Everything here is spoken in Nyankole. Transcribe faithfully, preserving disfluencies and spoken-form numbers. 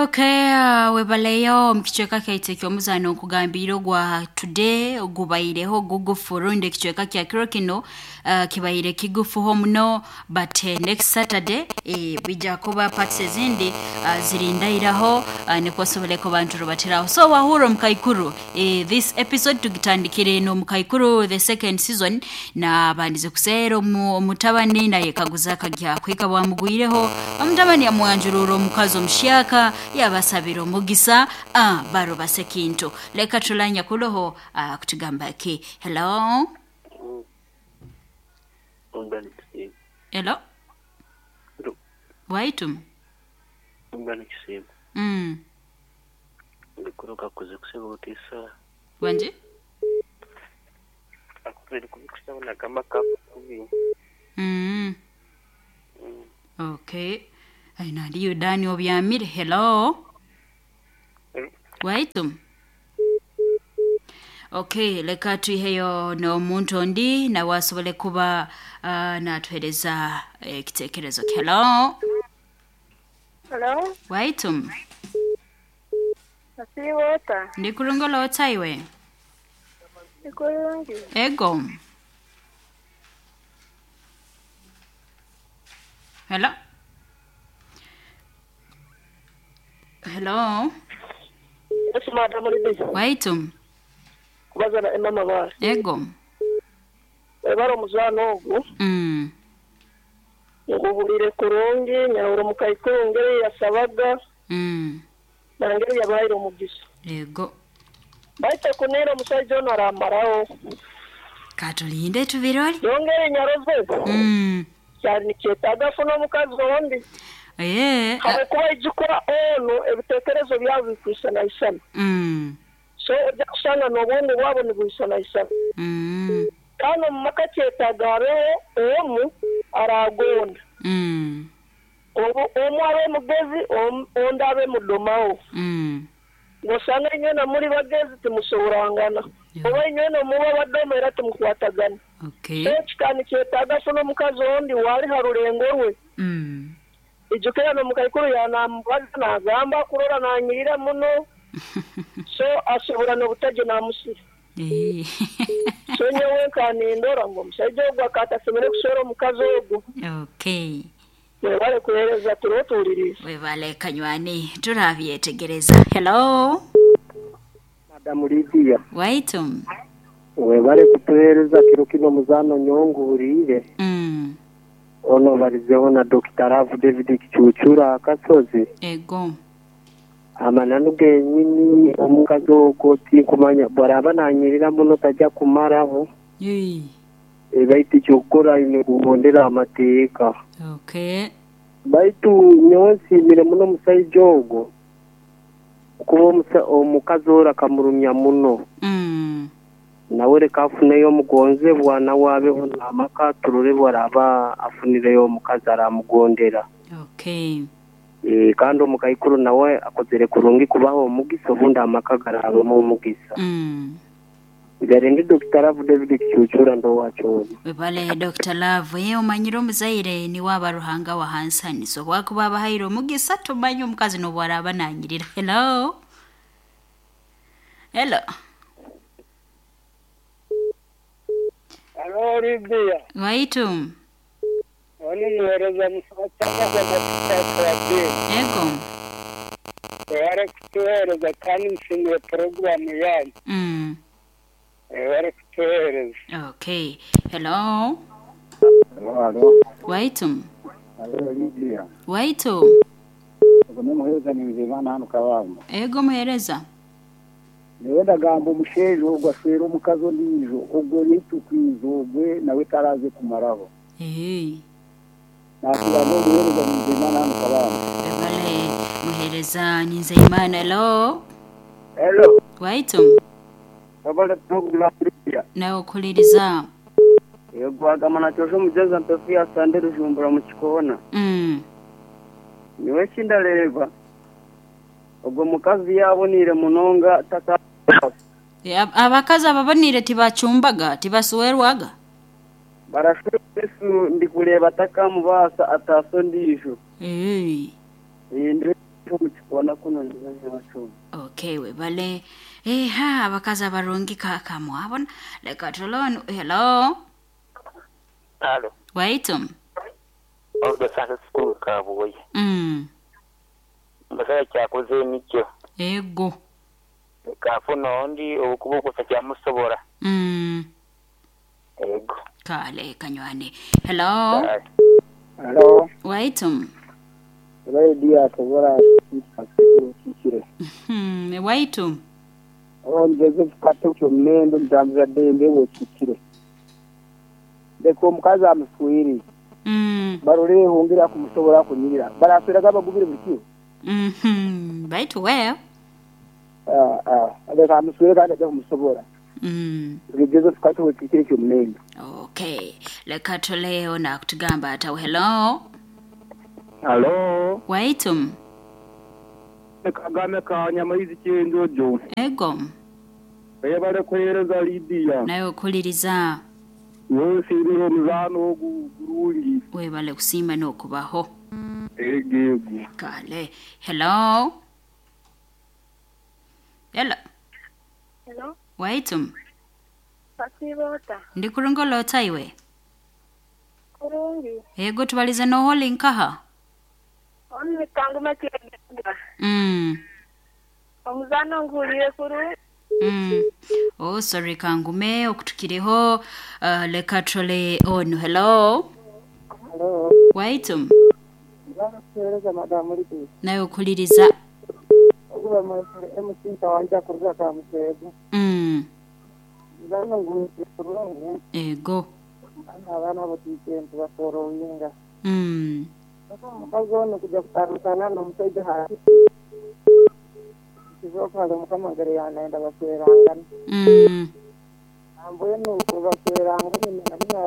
Okay, uh, webaleyo mukicweka kyaitu eky'omuzaano nkugambire ogwa today gubaireho gugufu rundi ekicweka kya kiro kino uh, kibaire kigufuho muno, but uh, next Saturday eh, bija kuba parts ezindi uh, zirindairaho uh, nikwo osobole kuba nturubatiraho. So wahura omukaikuru, eh, this episode tugitandikire n'omukaikuru the second season, na bandize kuseera omu- omutabani nayekaguza akagya kwika bwamugwireho omutabani yamwanjurura omukazi omushyaka yabasabira omugisa, ah, barubase kintu. Leka tulanya kuloho ah, kutugamba ki. Hello? Ungana kisimu. Hello? Hello. Waitu? Ungana kisimu. Mm. Ndikuruka kuze kuseba otisa. Wanje? Akubiri kubikusaba nagamba kakubi. Mm. Mm. Okay. Aina ndiyo Dani obyamire. Hello? Hello. Waitu? Okay, leka tuiheyo n'omuntu ondi nawe asobole kuba uh, natuhereza ekitekerezo. Hello? Hello, Waitu? asiiwota Ndi kurungola otaiwe? ikulungi. Ego. Hello? Hello? Yes, madam Lydia. Waitu? Kubaza na Emma Mabara. Ego. Webara omuzaano ogu Mm. nguhurire kurungi nyahura omukaikuru ngeri yasabaga Mm. nangeri yabaire omugisa. Ego. Baite kunira omushaija ono aramaraho. Katulinde tubirole. Yongere nyaroze Mm. kyari nikyetaaga afune omukazi ondi. Eh. Habwokuba ijukwa ono ebiteekerezo byabo bikwisanaisana. Mm. So ojja kusanga n'obundi bwabo nibwisanaisana. Mm. Kandi omu maka kyetaaga habeho omu aragonda. Mm. Obu omu abe mugezi om- ondi abe mudomawo. Mm. Ng'osanga inywena muri bagezi timusoborangana. Yeah. Oba inywena muba badoma era timukwatagana. Okay. So kikaba nikyetaaga afune omukazi ondi waali ha rulengo rwe. Mm. Ijukira n'omukaikuru yanamubaza nagamba kurora nanyirira muno. So asobora n'obutage namusira. Eh. So nyowe nkanindora ngu omushaija ogu akatasemere kuswera omukazi ogu. Okay. Webale kuheereza turiho tuwuliriza. Webale kanywani turabyetegereza. Hello? Madamu Lydia, Waitu? webale kutuheereza kiro kino muzaano nyonguhuriire. Mm. Ono barizeho na Doctor Love David Kicucura Akasozi. Ego. Amananu genyini omukazi ogwo tinkumanya bwaraba nanyirira muno tajja kumaraho. Yee. E, baitu ekyokukora aine kuhondera amateeka. Okay. Baitu nyowe nsiimire muno omusaija ogwo kuba omusa- omukazi ora akamurumya muno. Mm. Nawe reka afuneyo omugonzebwa nawe abeho n'amaka turore bwaraba afunireyo omukazi aramugondera. Okay. E, kandi omukaikuru nawe akozere kurungi kubaho omugisa obundi amaka garabamu omugisa. Mm. Gare ndi Doctor Love David Kicucura ndowakyona. Webale Doctor Love, ye omanyire omuzaire niwe aba Ruhanga wa hansaniso bwakuba abahaire omugisa tumanye omukazi n'obwaraba nanyirira. Hello? Hello? Hello Lydia. Waitu? Oni muheereza musaba cyangwa Ego. webale kutuheereza kandi nshimiye porogaramu yanyu. Mm. Webale kutuheereza. Okay. Hello? Halo, halo. Waitu? Halo, Lydia. Waitu? Ubwo ni muhereza ni Nzeyimana hano Kabamba. Ego muhereza. Niwe ndagamba omusheija ogwo ashwera omukazi ondiijo ogwo nitukwiza ogwe nawe taraze kumaraho. Hey. Nakira n'omuhereza ni Nzeyimana hano Kabamba. Webale muhereza ni Nzeyimana. Hello? Hello. Waitu? Webale program Lydia. Nawe okuliriza. Yego agamana cyosho mugeza mpefu ya sande rujumbura mu kikona. Mm. Niwe kindareba. Ogwo mukazi yabonire munonga tata. E, ab- abakazi ababonire tibacumbaga tibasuwerwaga. Barashuresu ndikureba takamubasa ataso ndijo. Hey. Ndi Omukikona kuno ndibanyabacumi. Okay, webale. Eha, abakazi abarungi kakamwabona. Leka tulone. Hello. Alo. Waitum. Ogo sasa sikuru kabuye. Mm. Mbasaya kyakoze nikyo. Ego. Kafuna ondi okuboko kyamusobora. Mm. Ego. Kale kanywane. Hello. Halo, Waitum. radio asobora kikire. Hmm, waitum. On Joseph Kato kyomendo mtambuza dembe wekikire. Leka omukazi amuswire Mm. barore hongera kumusobora kunyirira barasweraga bagubire buli kiro. Mhm. Baitu we. Ah, ah, leka amuswire kandi ajja kumusobora. Mm. Joseph Kato wekikire kyomendo. Okay. Leka tuleo na kutugamba ata hello. Halo, Waitum. Kagame ka Nyamaizi Kyenjojo. Ego. Webale kuheereza Lydia. Nawe okuliriza. Wesiimire omuzaano ogu gurungi. Webale kusiima n'okubaho. Ego ego. Kale. Hello. Hello. Hello, Waitum. Pasibota. Ndi kurungolota iwe. Kurungi. Ego tubalize noholi nkaha. Onu mitanguma kyegenda. Mm. Omuzano ngulire kurungi. Mm. Oh, sorry kangume okutukireho uh, leka tole ono. Hello. Halo, Waitum. kuheereza madamu Lydia. Nawe okuliriza. Oguba mwesere M C kawanja kuruga ka Museegu. Mm. Muzano ngulire kurungi. Ego. Abaana batiike ntibasorowinga. Mm. Omukazi ono kujja kutandikana n'omusajja hati. Kizoka mukama ngere yanaenda baswerangana. Mm. Ambwenu baswerangana nabyo